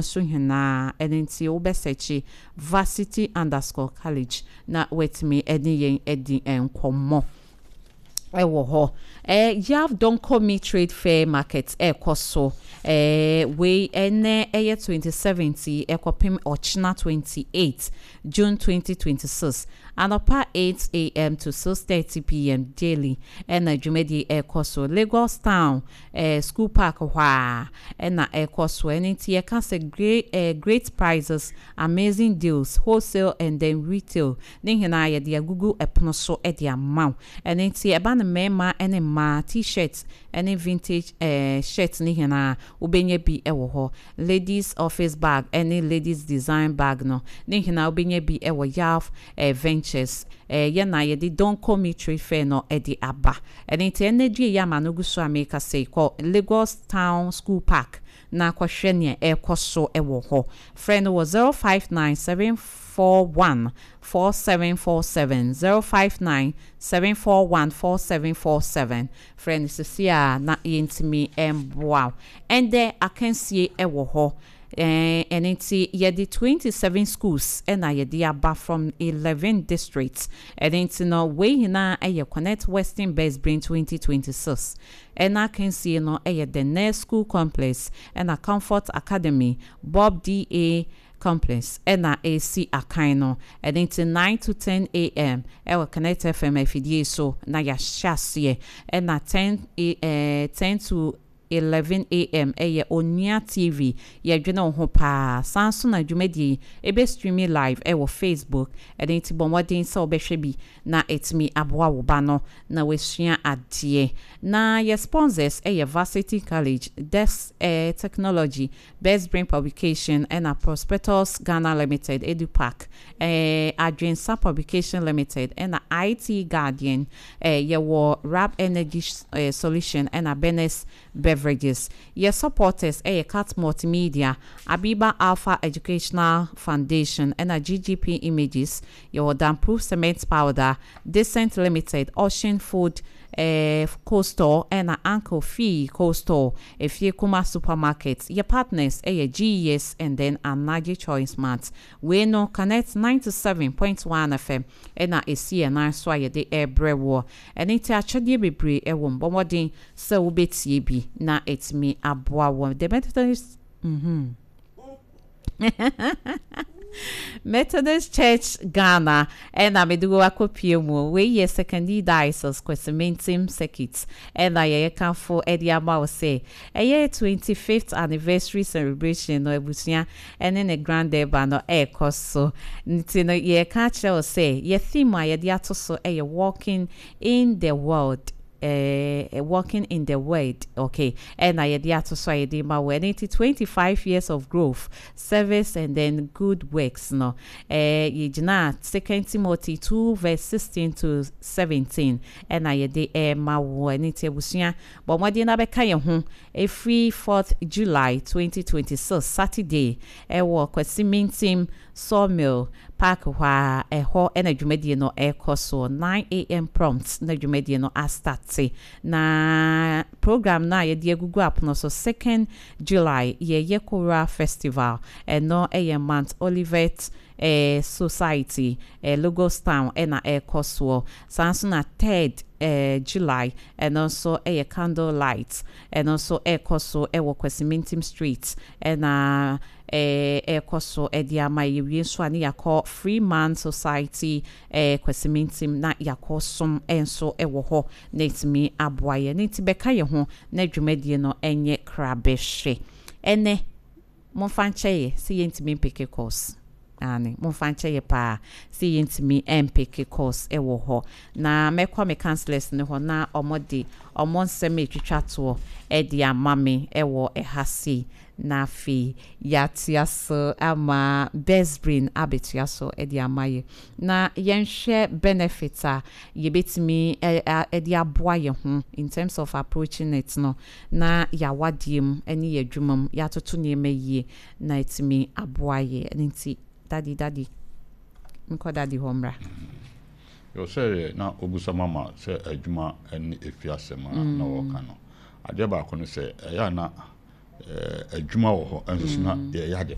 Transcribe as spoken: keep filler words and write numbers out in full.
So nyinaa ɛno nti wobɛsɛkye varsity underscore college na watumi ɛne yɛn adi nkɔmmɔ ɛwɔ hɔ. ɛɛ Yav Donkomi Trade Fair Market ɛɛkɔ so. ɛɛ wei ɛnɛ ɛyɛ twenty seventy ɛkɔpem ɔkyena twenty eight June twenty twenty six, anɔpa eight a m to six thirty p m daily ɛna dwumadie ɛɛkɔ so. Lagos Town ɛɛ School Park hɔ a ɛna ɛɛkɔ so. Ɛno nti yɛka sɛ great ɛɛ great prices, amazing deals, wholesale and then retail ne nyinaa yɛde agugu ɛpono so ɛde ama wo. Ɛno nti ɛba no mmarima ɛne mmaa T-shirt ɛne vintage ɛɛ shirt ne nyinaa, wobɛnya bi ɛwɔ hɔ. Ladies office bag ɛne ladies design bag no ne nyinaa, wobɛnya bi ɛwɔ Yav ɛɛ Ventures. ɛɛ yɛn na yɛde Donkomi Trade Fair no ɛde aba. Ɛno nti ɛnɛ dua yi ama no gu so a meka sɛ kɔ Lagos Town School Park na akɔhwɛ nea ɛrekɔ so ɛwɔ hɔ. Frɛ no wɔ zero five nine seven four one four seven four seven, zero five nine seven four one four seven four seven. Frɛ no sisi a na yɛntumi mboa wo. Ɛndɛ akansie ɛwɔ hɔ. ɛɛ ɛno nti yɛde twenty seven schools ɛna yɛde aba from eleven districts. Ɛno nti no wei nyinaa ɛyɛ Connect Western Best Brain twenty twenty six. Ɛna akansie no ɛyɛ the Nurse School Complex ɛna Comfort Academy, Bob da Complex ɛna esi akan no. Ɛno nti nine to ten a m ɛwɔ Connect F M afidie so na yɛahyɛ aseɛ, ɛna ten a ɛɛ ten to eleven a m ɛyɛ Onua T V. Yɛdwene wo ho paa. San so na dwumadie ebe streaming live ɛwɔ Facebook. Ɛno nti bɔ mmɔden sɛ wobɛhwɛ bi na ɛtumi aboa wo ba no na wasua adeɛ. Na yɛ sponsors ɛyɛ Varsity College, Desk eh, Technology, Best Brain Publication, ɛna Prospectus Ghana Limited, Edupark, eh, Adwensa Publication Limited, ɛna I T Guardian. eh, yɛwɔ Rap Energy eh, Solution ɛna Benes Beverages. Yɛ supporters ɛyɛ Cat Multimedia, Abiba Alpha Educational Foundation, ɛna G G P Images. Yɛwɔ Damproof Cement Powder, Decent Limited, Ocean Food eh, Co-Store, ɛna Uncle Fee Co-Store, Efie Kuma Supermarket. Yɛ partners ɛyɛ G E S and then Anaji Choice Mart. Wei no Connect ninety-seven point one F M ɛna esi ɛnan so a yɛde ɛrebrɛ wɔ. Ɛne nti akyɛdeɛ bebree ɛwɔ mu. Bɔ mmɔden sɛ wobɛtie bi na ɛtumi aboa wɔ the Methodist mm-hmm. Methodist Church Ghana ɛna mede wo akɔpie mu. Wei yɛ Sekondi Diocese, Kwesimintsim Circuit, ɛna yɛyɛ kamfo ɛde ama wo sɛ ɛyɛ twenty-fifth anniversary celebration no, abusua ɛne ne grand durbar no ɛrekɔ so. Nti no yɛka kyerɛ wo sɛ yɛ theme a yɛde ato so ɛyɛ "Walking in the World", uh, "Walking in the Word", okay, ɛna yɛde ato so a yɛde ma wɔ. Ɛno nti twenty-five years of growth, service and then good works no, eh, yɛgyina Second Timothy two verse sixteen to seventeen ɛna yɛde ɛma wɔ. Ɛno nti abusua, bɔ mmɔden na bɛka yɛn ho ɛfiri fourth July twenty twenty-six Saturday ɛwɔ Kwasimintim Sawmill Park hɔ a ɛhɔ ɛna dwumadie no ɛrekɔ so. nine a m prompt na dwumadie no astart. Na program no a yɛde agugu apono so, second July yɛyɛ Kora Festival. Ɛno ɛyɛ Mount Olivet eh, Society, eh, Lagos Town ɛna ɛrekɔ soɔ. Saa nso na third eh, July ɛno nso ɛyɛ candle light. Ɛno nso ɛrekɔ so ɛwɔ Kwasimintim Street ɛna ɛɛ ɛrekɔ so ɛde ama. Yɛwie nso a ne yɛakɔ Freeman Society, ɛɛ Kwasimintim, na yɛakɔ som ɛnso ɛwɔ hɔ na ɛtumi aboa yɛn. Ne nti bɛka yɛn ho na dwumadie no ɛnyɛ krabɛhwɛ. Ɛnɛ momfa nkyɛ yɛ sɛ yɛntumi mpick calls ane, momfa nkyɛ yɛ paa sɛ yɛntumi mpick calls ɛwɔ hɔ. Na mɛkɔ me councillors ne hɔ na ɔmo de ɔmo nsɛm a ɛtwitwa toɔ ɛde ama me ɛwɔ ɛha sei, na afei yɛatea so ama Best Brain abɛtua so ɛde ama yɛ na yɛnhwɛ benefit a yɛbɛtumi ɛde aboa yɛn ho in terms of approaching it no, na yɛawadeɛ mu ne yɛ adwuma mu yɛatoto nneɛma yie na ɛtumi aboa yɛ. Ɛno nti daddy, daddy, nkɔ daddy hɔ mmra. Yɛ sɛ na obusa mama sɛ adwuma ne efi asɛm a na wɔka no, adeɛ baako no sɛ ɛyɛ a na Ɛɛ, adwuma wɔ hɔ nso so na yɛyɛ ade.